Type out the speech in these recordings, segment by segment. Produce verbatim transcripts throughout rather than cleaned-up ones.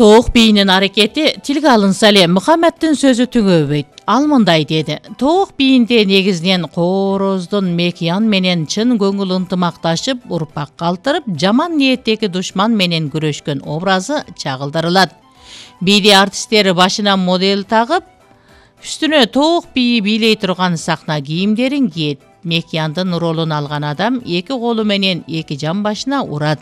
Тооқ бийинин аракети тилге алынса эле Мухаммеддин сөзү түгөбөйт. Ал мындай деди: Тооқ бийинде негизинен короздун мекиян менен чын көңүл ынтымакташып, урпак калтырып, жаман ниеттеги душман менен күрөшкөн образы чагылдырылат. Бийди артисттер башына модель тагып, үстүнө тооқ бийи бийлей турган сахна кийимдерин кийет. Мекияндын ролун алган адам эки колу менен эки жан башына урат.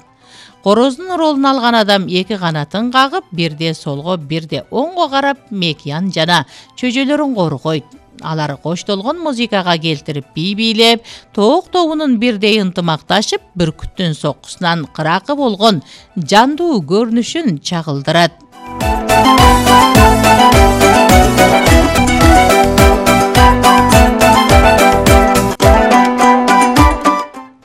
Короздун ролун алган адам эки канатын кагып, бирде солго, бирде оңго карап, мекиян жана чөжөлөрүн коргойт. Алар коштолгон музыкага келтирип бий бийлеп, тооқ тобунун бирдей ынтымакташып, бүркүттүн соккусунан кыракы болгон жандуу көрүнүшүн чагылдырат.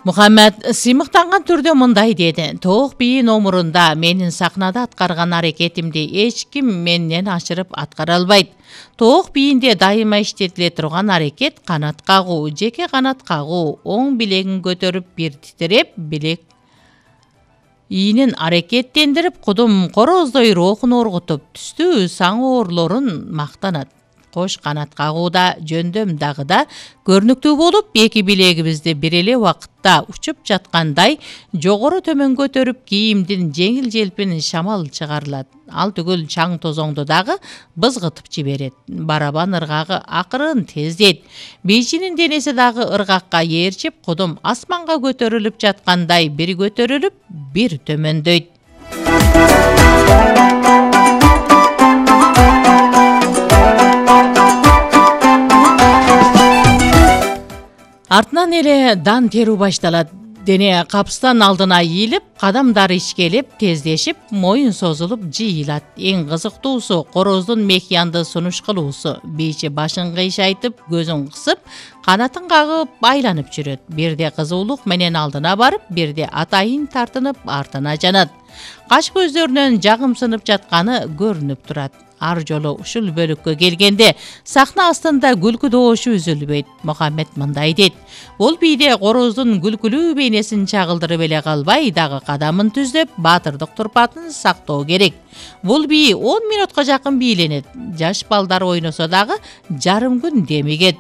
Мухаммед сыймыктанган түрдө мындай деди: Тооқ бийи номурунда менин сахнада аткарган аракетимди эч ким менден ашырып аткара албайт. Тооқ бийинде дайыма иштетиле турган аракет канат кагуу, жеке канат кагуу, оң билегин көтөрүп бир титиреп, билек ийинин аракеттендирип, кудум короздой рухун оргутуп, түстүү саң оорлорун мактанат. Кош канат кагууда жөндөм дагы да көрүнүктүү болуп, эки билегибизди бир эле убакытта учуп жаткандай жогору төмөн көтөрүп, кийимдин жеңил желпин шамал чыгарылат. Ал түгүл чаң тозоңду дагы бызгытып жиберет. Барабан ыргагы акырын тездейт. Бийчинин денеси дагы ыргакка ээрчип, кудум асманга көтөрүлүп жаткандай бир көтөрүлүп, бир төмөндөйт. Артынан эле дан терүү башталат. Дене капстан алдына ийилип, кадамдар ичкелеп, тездешип, моюн созулуп жыйылат. Эң кызыктуусу короздун мекиянды сунуш кылуусу. Бийчи башын кыйшайтып, көзүн кысып, канатын кагып айланып жүрөт. Бирде кызуулук менен алдына барып, бирде атайын тартынып артына жанат. Каш көздөрүнөн жагымсынып жатканы көрүнүп турат. Ар жолу ушул бөлүккө келгенде сахна астында күлкү добушу үзүлбөйт. Мухаммед мындай дейт: Бул бийде короздун күлкүлүү бейнесин чагылдырып эле калбай, дагы кадамын түздөп, баатырдык турпатын сактоо керек. Бул бий он мүнөткө жакын бийленет. Жаш балдар ойносо дагы жарым күн демигет.